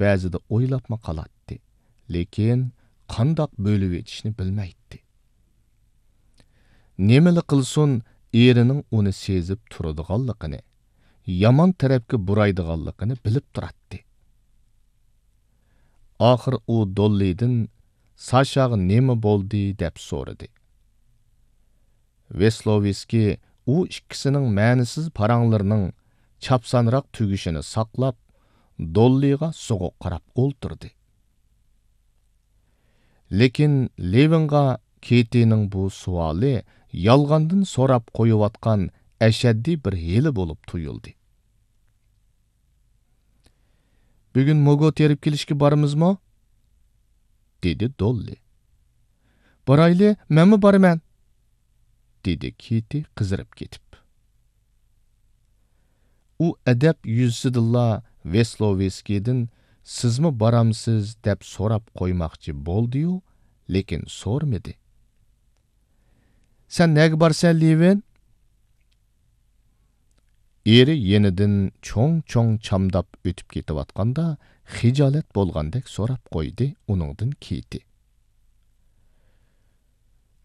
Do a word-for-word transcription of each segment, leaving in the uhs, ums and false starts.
بەزىدە ئويلاپمۇ قالاتتى، لېكىن قانداق بۆلۈۋېتىشنى بىلمەيتتى. نېمىلا قىلسۇن، ئېرىنىڭ ئۇنى سېزىپ تۇرىدىغانلىقىنى، يامان تەرەپكە بۇرايدىغانلىقىنى بىلىپ تۇراتتى. ئاخىر ئۇ دوللىدىن، «ساشاغا نېمە بولدى؟» دەپ سورىدى. ۋېسلوۋېسكىي ئۇ ئىككىسىنىڭ مەنىسىز پاراڭلىرىنىڭ چاپسانراق تۈگىشىنى ساقلاپ، دوللىغا سوغۇق قاراپ ئولتۇردى. لېكىن لېۋىنغا كېتىنىڭ بۇ سوئالى يالغاندىن سوراپ قويۇۋاتقان ئەشەددىي بىر ھىيلە بولۇپ تۇيۇلدى. «بۈگۈن موگو تېرىپ كېلىشكە بارىمىزمۇ؟» دېدى دوللى. «بارايلى، مەنمۇ بارىمەن!» دېدى كېتى قىزىرىپ كېتىپ. ئۇ ئەدەپ يۈزىسىدىنلا ۋېسلوۋېسكىيدىن، «سىزمۇ بارامسىز؟» دەپ سوراپ قويماقچى بولدى-يۇ، لېكىن سورىمىدى. «سەن نەگە بارىسەن، لېۋىن؟» ئېرى يېنىدىن چوڭ-چوڭ چامداپ ئۆتۈپ كېتىۋاتقاندا، خىجالەت بولغاندەك سوراپ قويدى ئۇنىڭدىن كېتى.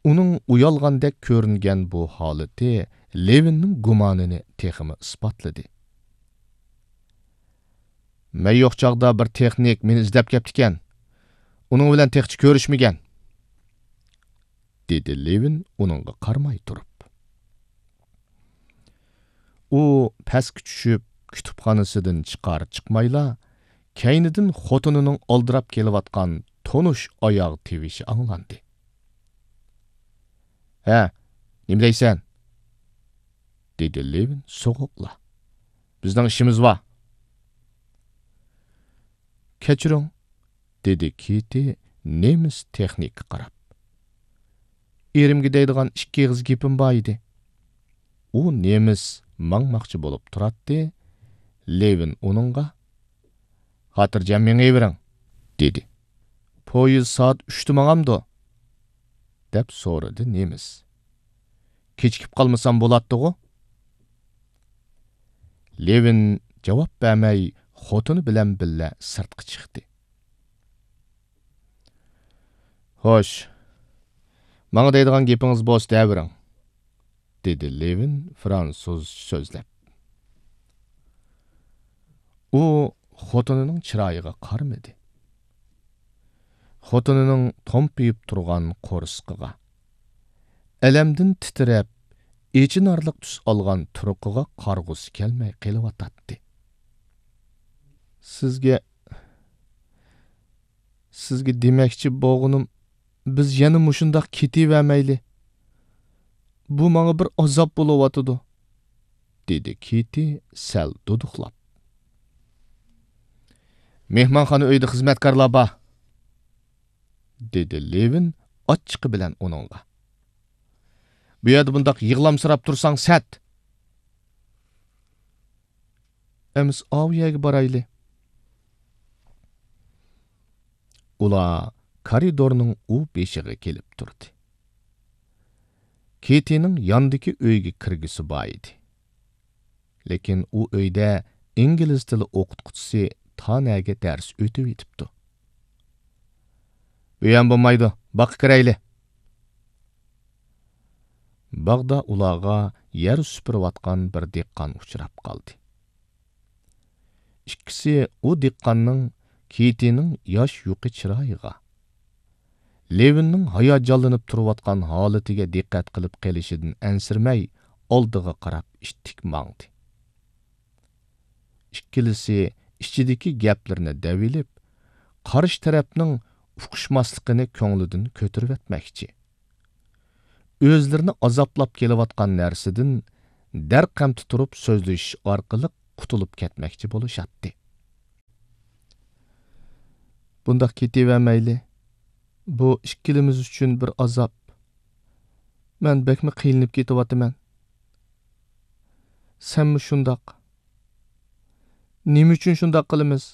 ئۇنىڭ ئۇيالغاندەك كۆرۈنگەن بۇ ھالىتى لېۋىننىڭ گۇمانىنى تېخىمۇ ئىسپاتلىدى. «مەن يوق چاغدا بىر تېخنىك مېنى ئىزدەپ كەپتىكەن. ئۇنىڭ بىلەن تېخىچە كۆرۈشمىگەن.» دېدى لېۋىن ئۇنىڭغا قارىماي تۇرۇپ. ئۇ پەسكە چۈشۈپ، كۇتۇپخانىسىدىن چىقار چىقمايلا، كەينىدىن خوتۇنىنىڭ ئالدىراپ كېلىۋاتقان تونۇش ئاياغ تىۋىشى ئاڭلاندى. «ھە، نېمە دەيسەن؟» دېدى لېۋىن سوغۇقلا. «بىزنىڭ ئىشىمىز بار.» «كەچۈرۈڭ،» دېدى كېتى نېمىس تېخنىكقا قاراپ. «ئېرىمگە دەيدىغان ئىككى ئېغىز گېپىم بار ئىدى.» ئۇ نېمىس ماڭماقچى بولۇپ تۇراتتى، لېۋىن ئۇنىڭغا، «خاتىرجەم مېڭىۋېرىڭ،» دېدى. «پويىز سائەت ئۈچتە ماڭامدۇ؟» دەپ سورىدى نېمىس. «كېچىكىپ قالمىسام بولاتتىغۇ؟» لېۋىن جاۋاب بەرمەي، خوتۇنى بىلەن بىللە سىرتقا چىقتى. «خوش، ماڭا دەيدىغان گېپىڭىز بولسا دەۋېرىڭ،» دېدى لېۋىن فرانسۇزچە سۆزلەپ. ئۇ خوتۇنىنىڭ چىرايىغا قارىمىدى. خوتۇنىنىڭ تومپىيىپ تۇرغان قورسىقىغا، ئەلەمدىن تىترەپ، ئېچىنارلىق تۈس ئالغان تۇرقىغا قارىغۇسى كەلمەي قېلىۋاتاتتى. «سىزگە، سىزگە دېمەكچى بولغىنىم، بىز يەنە مۇشۇنداق كېتىۋەرمەيلى. بۇ ماڭا بىر ئازاب بولۇۋاتىدۇ،» دېدى كېتى سەل دۇدۇقلاپ. «مېھمانخانا ئۆيىدە خىزمەتكارلار بار،» دېدى لېۋىن ئاچچىقى بىلەن ئۇنىڭغا. «بۇ يەردە بۇنداق يىغلامسىراپ تۇرساڭ سەت.» «ئەمىسە ئاۋۇ يەرگە بارايلى.» ئۇلار كارىدورنىڭ ئۇ بېشىغا كېلىپ تۇردى. كېتىنىڭ ياندىكى ئۆيگە كىرگۈسى بار ئىدى. لېكىن ئۇ ئۆيدە ئىنگلىز تىلى ئوقۇتقۇچىسى تانەگە دەرس ئۆتۈۋېتىپتۇ. «بۇ يەرمۇ بولمايدۇ، باغقا كىرەيلى.» باغدا ئۇلارغا يەر سۈپۈرۈۋاتقان بىر دېھقان ئۇچراپ قالدى. ئىككىسى ئۇ دېھقاننىڭ كېتىنىڭ ياش يۇقى چىرايىغا، لېۋىننىڭ ھاياجانلىنىپ تۇرۇۋاتقان ھالىتىگە دىققەت قىلىپ قېلىشىدىن ئەنسىرىمەي، ئالدىغا قاراپ ئىتتىك ماڭدى. ئىككىلىسى ئىچىدىكى گەپلىرىنى دەۋېلىپ، قارشى تەرەپنىڭ ئۇقۇشماسلىقىنى كۆڭلىدىن كۆتۈرۈۋەتمەكچى. ئۆزلىرىنى ئازابلاپ كېلىۋاتقان نەرسىدىن دەرقەمتى تۇرۇپ سۆزلىشىش ئارقىلىق قۇتۇلۇپ كەتمەكچى بولۇشاتتى. بۇنداق كېتىۋەرمەيلى. بۇ ئىككىلىمىز ئۈچۈن بىر ئازاب. مەن بەكمۇ قىينىلىپ كېتىۋاتىمەن. سەنمۇ شۇنداق. نېمە ئۈچۈن شۇنداق قىلىمىز؟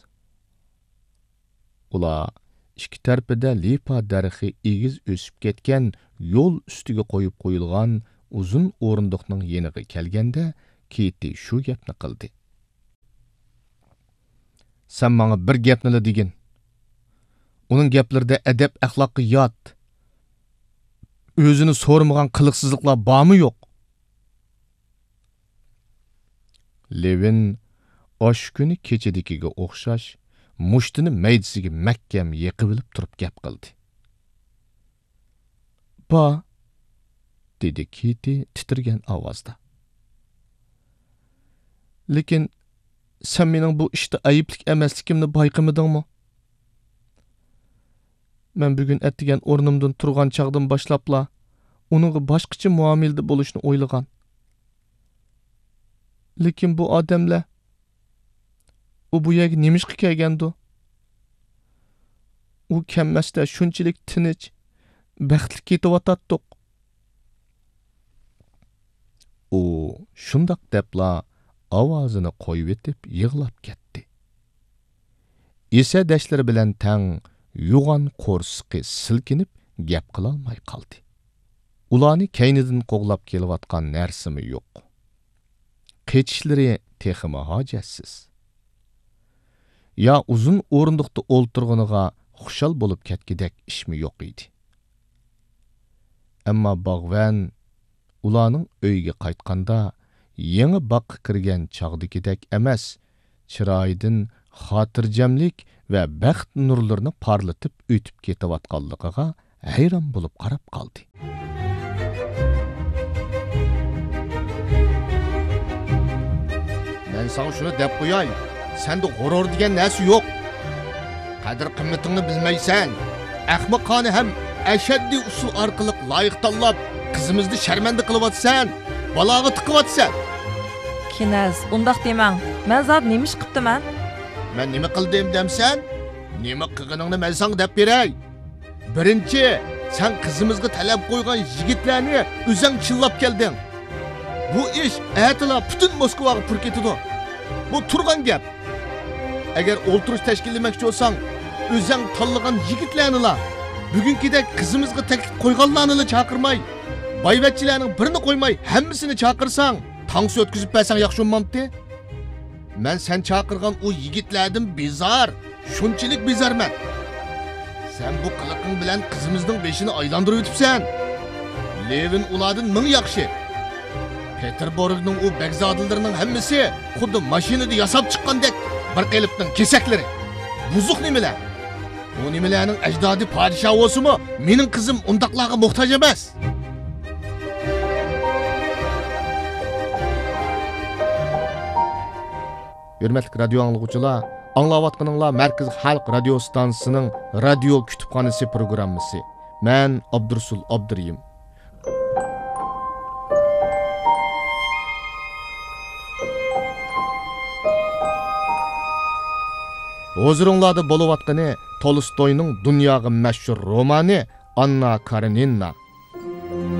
ئۇلار ئىككى تەرىپىدە لىپا دەرىخى ئېگىز ئۆسۈپ كەتكەن يول ئۈستىگە قويۇپ قويۇلغان ئۇزۇن ئورۇندۇقنىڭ يېنىغا كەلگەندە، كېتى شۇ گەپنى قىلدى. سەن ماڭا بىر گەپنىلا دېگىن. ئۇنىڭ گەپلىرىدە ئەدەپ-ئەخلاققا يات، ئۆزىنى سورىمىغان قىلىقسىزلىقلار بارمۇ يوق؟ لېۋىن ئاشۇ كۈنى كېچىدىكىگە ئوخشاش مۇشتىنى مەيدىسىگە مەھكەم يېقىۋېلىپ تۇرۇپ گەپ قىلدى. «بار،» دېدى كىتى تىترىگەن ئاۋازدا. «لېكىن سەن مېنىڭ بۇ ئىشتا ئەيىبلىك ئەمەسلىكىمنى بايقىمىدىڭمۇ؟ مەن بۈگۈن ئەتىگەن ئورنۇمدىن تۇرغان چاغدىن باشلاپلا ئۇنىڭغا باشقىچە مۇئامىلىدە بولۇشنى ئويلىغان. لېكىن بۇ ئادەملەر، ئۇ بۇ يەرگە نېمىشقا كەلگەندۇ؟ ئۇ كەلمەستە شۇنچىلىك تىنچ، بەختلىك كېتىۋاتاتتۇق.» ئۇ شۇنداق دەپلا ئاۋازىنى قويۇۋېتىپ يىغلاپ كەتتى. ئېسەدەشلىرى بىلەن تەڭ يوغان قورسىقى سىلكىنىپ گەپ قىلالماي قالدى. ئۇلارنى كەينىدىن قوغلاپ كېلىۋاتقان نەرسىمۇ يوق. قېچىشلىرى تېخىمۇ ھاجەتسىز. يا ئۇزۇن ئورۇندۇقتا ئولتۇرغىنىغا خۇشال بولۇپ كەتكۈدەك ئىشمۇ يوق ئىدى. ئەمما باغۋەن ئۇلارنىڭ ئۆيىگە قايتقاندا، يېڭى باغقا كىرگەن چاغدىكىدەك ئەمەس، چىرايىدىن خاتىرجەملىك ۋە بەخت نۇرلىرىنى پارلىتىپ ئۆتۈپ كېتىۋاتقانلىقىغا ھەيران بولۇپ قاراپ قالدى. مەن ساڭا شۇنى دەپ قوياي، سەندە غۇرۇر دېگەن نەرسە يوق. قەدىر-قىممىتىڭنى بىلمەيسەن. ئەخمىقانە ھەم ئەشەددىي ئۇسۇل ئارقىلىق لايىق تاللاپ، قىزىمىزنى شەرمەندە قىلىۋاتىسەن، بالاغا تىقىۋاتىسەن. كىنەز، ئۇنداق دېمەڭ. مەن زادى نېمە ئىش قىپتىمەن؟ مەن نېمە قىلدىم دەمسەن؟ نېمە قىلغىنىڭنى مەن ساڭا دەپ بېرەي. بىرىنچى، سەن قىزىمىزغا تەلەپ قويغان يىگىتلەرنى ئۆزەڭ چىللاپ كەلدىڭ. بۇ ئىش ئەتىلا پۈتۈن موسكۋاغا پۇر كېتىدۇ. بۇ تۇرغان گەپ. ئەگەر ئولتۇرۇش تەشكىللىمەكچى بولساڭ، ئۆزەڭ تاللىغان يىگىتلەرنىلا، بۈگۈنكىدەك قىزىمىزغا تەكلىپ قويغانلارنىلا چاقىرماي، بايۋەچچىلەرنىڭ بىرىنى قويماي ھەممىسىنى چاقىرساڭ، تانسا ئۆتكۈزۈپ بەرسەڭ ياخشى بولمامتى؟ مەن سەن چاقىرغان ئۇ يىگىتلەردىن بىزار، شۇنچىلىك بىزارمەن. سەن بۇ قىلىقىڭ بىلەن قىزىمىزنىڭ بېشىنى ئايلاندۇرۇۋېتىپسەن. لېۋىن ئۇلاردىن مىڭ ياخشى. پېتېربۇرگنىڭ ئۇ بەگزادىلىرىنىڭ ھەممىسى خۇددى ماشىنىدا ياساپ چىققاندەك بىر قېلىپنىڭ كېسەكلىرى. بۇزۇق نېمىلەر. ئۇ نېمىلەرنىڭ ئەجدادى پادىشاھ بولسىمۇ، مېنىڭ قىزىم ئۇنداقلارغا موھتاج ئەمەس. ھۆرمەتلىك رادىيو ئاڭلىغۇچىلار، ئاڭلاۋاتقىنىڭلار مەركىزىي خەلق رادىيو ئىستانسىسىنىڭ رادىيو كۇتۇپخانىسى پروگراممىسى. مەن ئابدۇرۇسۇل ئابدۇرېھىم. ھۇزۇرۇڭلاردا بولۇۋاتقىنى تولستوينىڭ دۇنياغا مەشھۇر رومانى ئاننا كارېنىنا.